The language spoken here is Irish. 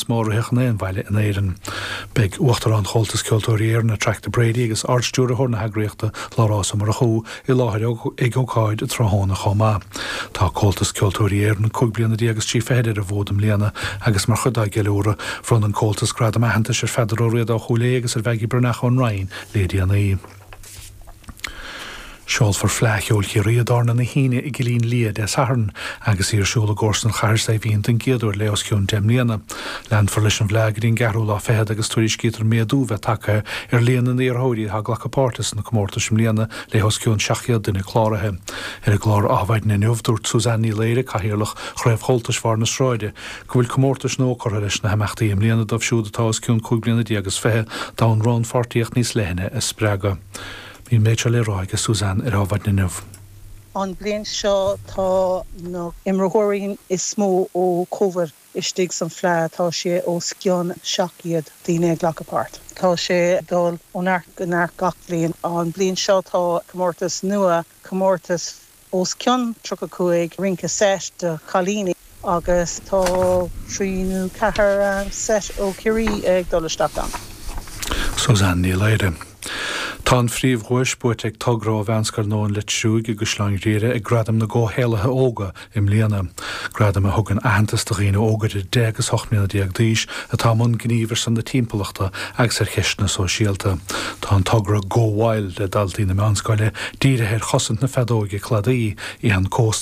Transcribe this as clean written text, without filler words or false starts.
mó a ritheadh in aon bhaile in Éirinn. Beidh Uachtarán Chomhaltas Ceoltóirí Éireann, Attracta Brady agus Ard-Stiúrthóir na heagraíochta, Labhrás Ó Murchú, i láthair ag ócáid tráthnóna chomh maith. Tá Comhaltas Ceoltóirí Éireann 15 bliana is 30 ar an bhfód i mbliana agus mar chuid dá gceiliúradh, bhronn an Comhaltas gradam aitheantais ar Pheadar Ó Riada ó Chúil Aodha agus ar Mhaggie Breathnach ón Rinn le déanaí. Seolfar Fleadh Cheoil Chiarraí i dTábhairne na hAoine i gCillín Liath Dé Sathairn agus í ar siúl i gcomharsan Chathair Saidhbhín den gcéad uair le os cionn 10 mbliana. Leanfar leis an bhFleadh go dtí an gceathrú lá fichead agus tuairiscítear méadú bheith tagtha ar líon na n-iarrthóirí atá ag glacadh páirte sna comórtais i mbliana le os cionn 700 duine cláraithe. Ar an gclár Adhmhaidin inniu, dúirt Suzanne Ní Laoire, Cathaoirleach Chraobh Chomhaltais Bharr na Sráide, go bhfuil comórtais nua curtha leis na himeachtaí i mbliana dóibh siúd atá os cionn 15 bliana is 20 d'fhonn rannpháirtíocht níos leithne a spreagadh. Bhí an méid seo le rá aige Suzanne ar Adhmhaidin inniu. An bhliain seo tá na imreoirí is mó ó Covid istigh san Fleadh, tá sé os cionn 700 daoine ag glacadh páirt. Tá sé ag dul ó neart go neart gach bliain. An bhliain seo tá comórtas nua, comórtas os cionn 35 rince seit do chailíní agus tá trí nó ceathair seit ó Chiarraí ag dul isteach ann. Suzanne Ní Laoire. Tá an phríomhdhuais buaite ag togra ó Mheánscoil Nua an Leitriúigh i gCaisleán Ghriaire ag Gradaim na gComhshaolaithe Óga i mbliana. Gradaim a thugann aitheantas do dhaoine óga idir 10 agus 18 mbliana d'aois atá i mbun gnímh ar son na timpeallachta agus ar cheisteanna sóisialta. Tá an togra Go Wild le daltaí na meánscoile dírithe ar chosaint na feadóige cladaí, éan cósta.